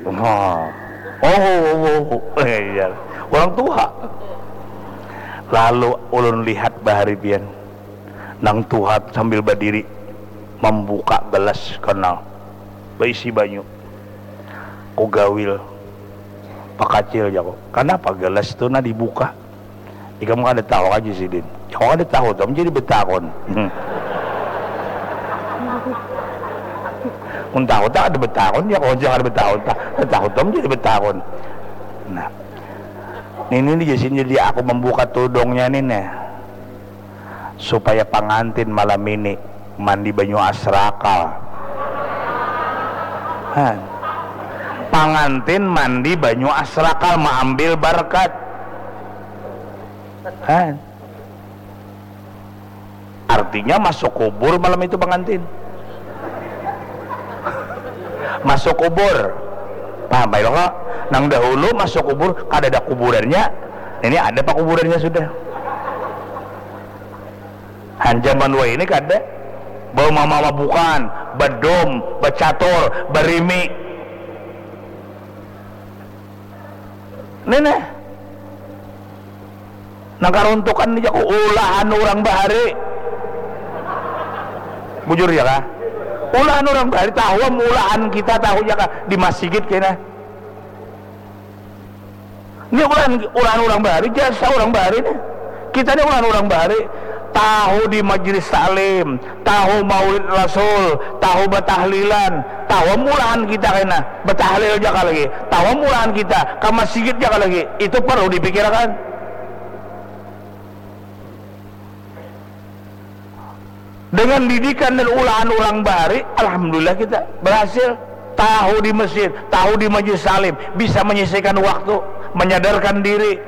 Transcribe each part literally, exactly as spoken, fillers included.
Oh, oh, oh, oh, oh. Iya. Orang tua. Lalu ulun lihat bahari pian, nang tuha sambil badiri mambuka gelas karena baisi banyu. Ku gawil, pakacil, jaku, "Kanapa gelas tu nah dibuka?" "Ikam kada tahu aja sidin." "Ya, kada tahu tu, jadi betakon." Mun tahu tak ada betakon, ya kalau jangan betakon, tak tahu tu jadi betakon. Nah, ini nih jadi aku membuka tudungnya nih, nih, supaya pangantin malam ini mandi banyu asrakal. Han. Pangantin mandi banyu asrakal, maambil barkat. Han. Artinya masuk kubur malam itu pangantin. Masuk kubur. Paham, Pak Iloko? Nang dahulu masuk kubur, kada ada kuburannya. Ini ada pakuburannya sudah. Han, zaman wayah ini kada. Bawa mama bukan, badom, bacatur, barimi. Nih, nih. Nang karuntukan ni jaku ulahan orang bahari. Bujur ya kah? Ulahan orang bahari, tahu am ulahan kita, tahu ya kah? Di masjid kena. Ini ulahan, ulahan orang bahari, jasa orang bahari nih. Kita ini ulahan orang bahari. Tahu di majelis taklim, tahu maulid Rasul, tahu batahlilan, tahu am ulahan kita kena. Batahlil jaka lagi, tahu am ulahan kita, ke masjid jaka lagi. Itu perlu dipikirkan. Dengan didikan dan ulahan orang bahari, alhamdulillah kita berhasil. Tahu di masjid, tahu di majelis taklim, bisa menyisihkan waktu, menyadarkan diri.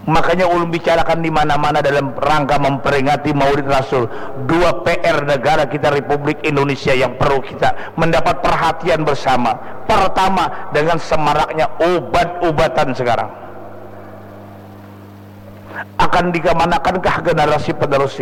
Makanya ulun bicarakan di mana-mana dalam rangka memperingati Maulid Rasul. Dua P R negara kita, Republik Indonesia, yang perlu kita mendapat perhatian bersama. Pertama, dengan semaraknya ubat-ubatan sekarang, akan dikemanakan kah generasi penerus